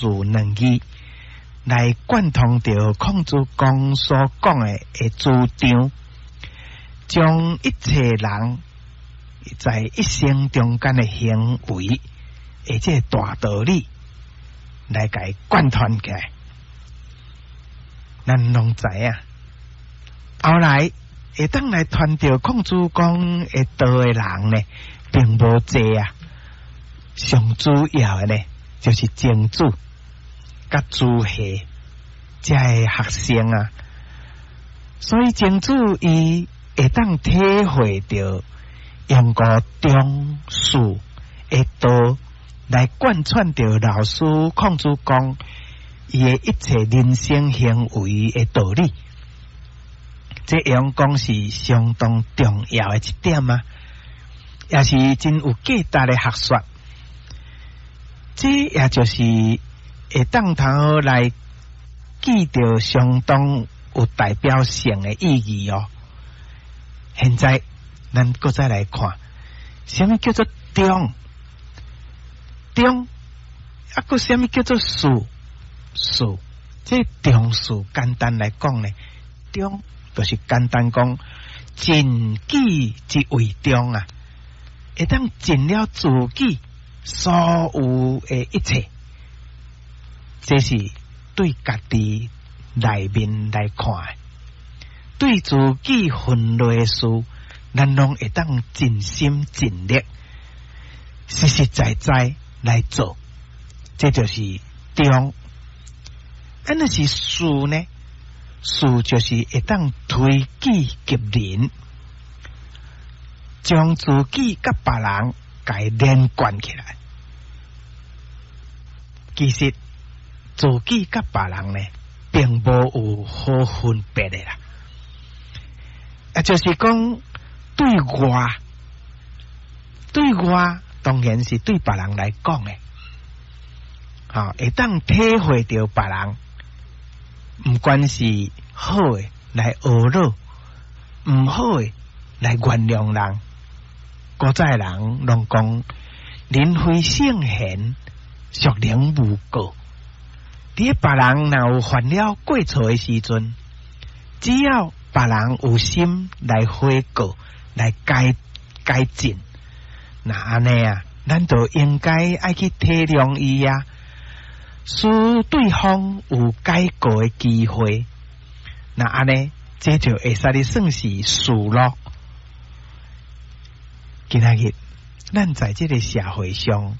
事兩字來貫通著孔子公所講的主張，將一切人在一生中間的行為的這个大道理來共伊貫穿起來。咱攏知影，後來會當來傳著孔子講的道的人呢，並無濟啊。上主要的呢，就是曾子佮朱熹這个學生啊。所以曾子伊會當體會著用個忠恕的道來貫穿著老師孔子講伊的一切人生行為的道理，這樣講是相當重要的一點啊，也是真有價值的學說。這也就是會當通來記著相當有代表性的意義哦。現在咱閣再來看，啥物叫做忠？忠啊，閣啥物叫做恕？恕，這忠恕簡單來講呢，忠就是簡單講，盡己之為忠啊，會當盡了自己所有的一切，這是對家己內面來看，對自己分內的事，咱攏會當盡心盡力，實實在在來做，這就是忠。啊，若是恕呢？恕就是會當推己及人，將自己佮別人共伊連貫起來。其實自己佮別人呢，並無有好分別的啦。啊，就是講對外，對外當然是對別人來講的，吼，會當體會著別人，毋管是好的來呵咾，毋好的來原諒人。古早的人攏講，人非聖賢，孰能無過？佇別人若有犯了過錯的時陣，只要別人有心來悔過、來改改進，那按呢啊，咱就應該愛去體諒伊啊，使對方有改過的機會。那按呢，這就會使你算是恕咯。今仔日，咱在這个社會上，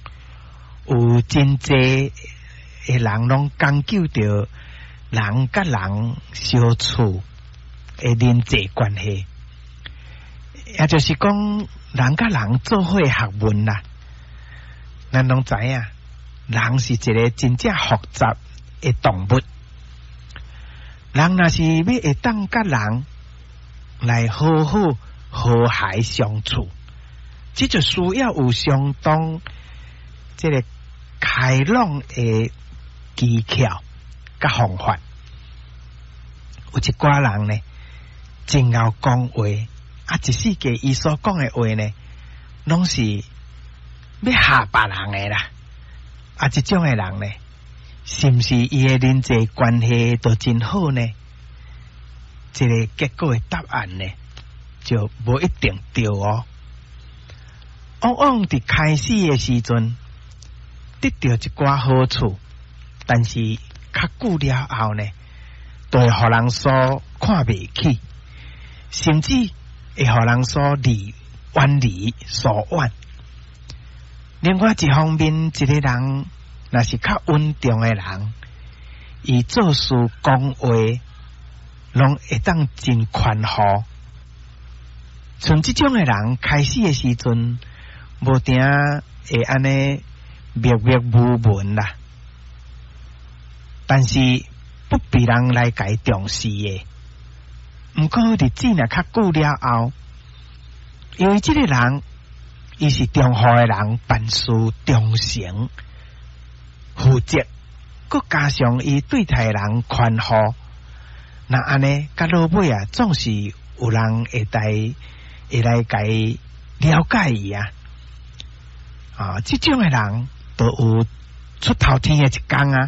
有真濟的人攏講究著人佮人相處的人際關係，也就是講人佮人做伙學問啦。咱攏知影，人是一个真正複雜的動物。人若是欲會當佮人來好好和諧相處，這就需要有相當這个開朗的技巧佮方法。有一寡人呢，真𠢕講話，啊，一世界伊所講的話呢，攏是欲嚇別人的啦。啊，這種的人呢，是毋是伊的人際關係都真好呢？這个結果的答案呢，就無一定對哦。往往佇開始的時陣，得著一寡好處，但是較久了後呢，就會予人所看袂起，甚至會予人所離遠離疏遠。另外一方面，一个人若是較穩重的人，伊做事講話，攏會當真寬厚。像這種的人，開始的時陣，無定會按呢默默無聞啦，但是不被人來共伊重視的。毋過日子若較久了後，因為這个人伊是中和的人，辦事忠誠、負責，閣加上伊對待人寬厚，那按呢，到落尾啊，總是有人會來會來共伊了解伊啊。啊，這種的人都有出頭天的一工啊。